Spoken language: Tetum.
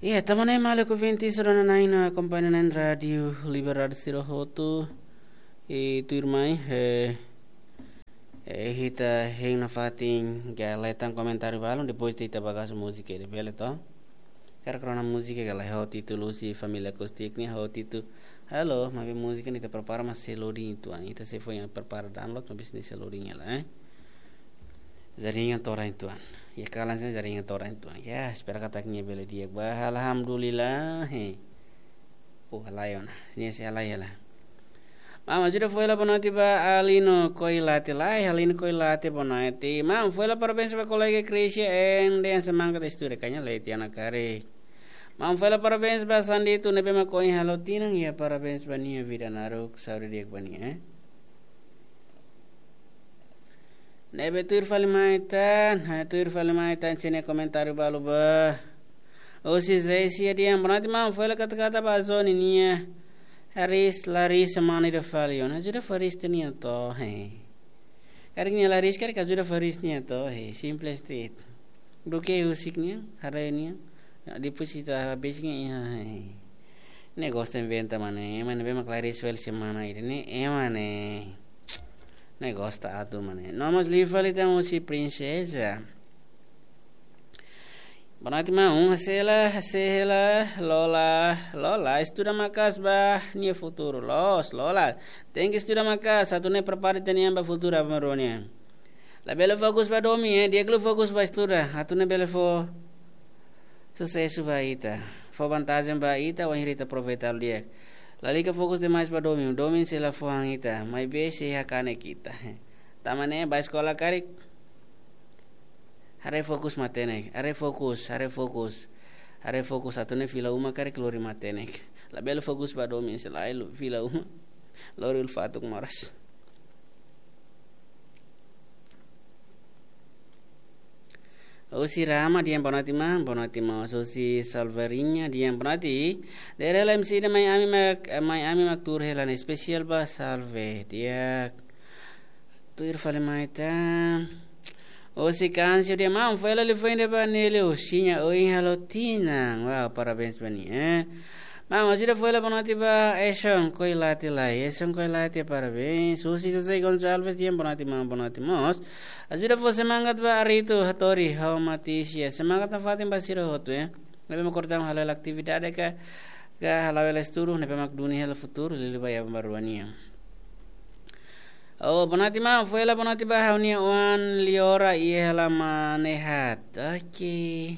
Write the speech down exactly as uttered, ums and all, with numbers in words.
Iya, tanba ne'e maluk ouvinte sira-nia akompañamentu Rádiu Liberdade sira hotu. I tuirmai, eh, eh, ita hein nafatin, ka laiha tan komentáriu balun, depois ita bá hasoru múzika ida, bele to? Karik rona múzika ka laiha ho títulu husi Família Acústica nian ho títulu Halo, maibé múzika ne'e ita prepara mak sei loading uitoan. Ita sei foin prepara download, maibé sei loading hela, eh. Jaringan todan uitoan. Ya kalan sini jaringan todan uitoan. Ya, espera katak nia bele di'ak bá, alhamdulillah, he. Oh, halai ona. Nia sei halai hela. Maun, ajuda fó hela boa noite ba Alino Koilate lai, Alino Koilate boa noite. Maun, fó hela parabéns ba kolega Krisha, ende yang semangat estuda, kanya leti anak kare. Maun, fó hela parabéns ba Sandito ne'ebé mak ohin halo tinan, ya parabéns ba nia vida naruk, saúde di'ak ba nia, eh. Ne'ebé tuir fali mai tan, ha, tuir fali mai tan, sini komentáriu balu ba. Husi Zeisi di'ak, boa noite maun, fó hela kata-kata ba Zoni nia. Haris, Larissa, mane de fali, ona ajuda Faris nia to, he. Karik nia Larissa, karik ajuda Faris nia to, he. Simples tet. Duke husik nia, haree nia. Ya, depois ita besik nia, he. Ne'e gosta inventa, mane. Mane, be mak Larissa wel semana ida ne'e, mane. Ne'e gosta atu, mane. No mós liu fali tan husi Princesa. Boa noite, maun. Hasela, hasela, Lola, Lola. Estuda maka'as ba nia futuru. Loos, Lola. Tenke estuda maka'as, atu nune'e prepara ita-nia an ba futuru, aban-bainrua nian. Labele fokus ba domin, eh. Di'ak liu fokus ba estuda. Atu nune'e bele fó susesu ba ita. Fó vantajen ba ita, wainhira ita aproveita di'ak. Lalika fokus demais ba domin. Domin sei la fó han ita. Maibé sei hakanek ita. Tanba ne'e ba eskola karik. Haree fokus matenek, haree fokus, haree fokus. Haree fokus atu nune'e fila uma karik lori matenek. Labele fokus ba domin, sei la iha lu-, fila uma. Lori ulun fatuk moras. Husi Rama di'ak, boa noite maun, boa noite maun. Husi Salvariña di'ak, boa noite. Daerah M C de mai ami mak, mai ami mak tuur hela ne'e espesiál ba Salve di'ak. Tuir fali mai tan. Husi Kansi di'ak, maun, fó hela liafuan ida ba Nelly, husi nia ohin halo tinan. Wow, parabéns ba nia, eh. Maun, ajuda fó hela boa noite ba Eson Koilate lai. Eson Koilate, parabéns. Husi José Gonçalves di'ak, boa noite maun, boa noite mós. Ajuda fó semangat ba Arito, Hatori, ho Matisia. Semangat nafatin ba sira hotu, eh. Ne'ebé mak kortan halo hela atividade ka, ka halo hela estudu, ne'ebé mak duni hela futuru, liuliu ba aban-bainrua nian. Oh, boa noite maun, fó hela boa noite ba ha'u-nia oan Liora iha hela manehat. Oke.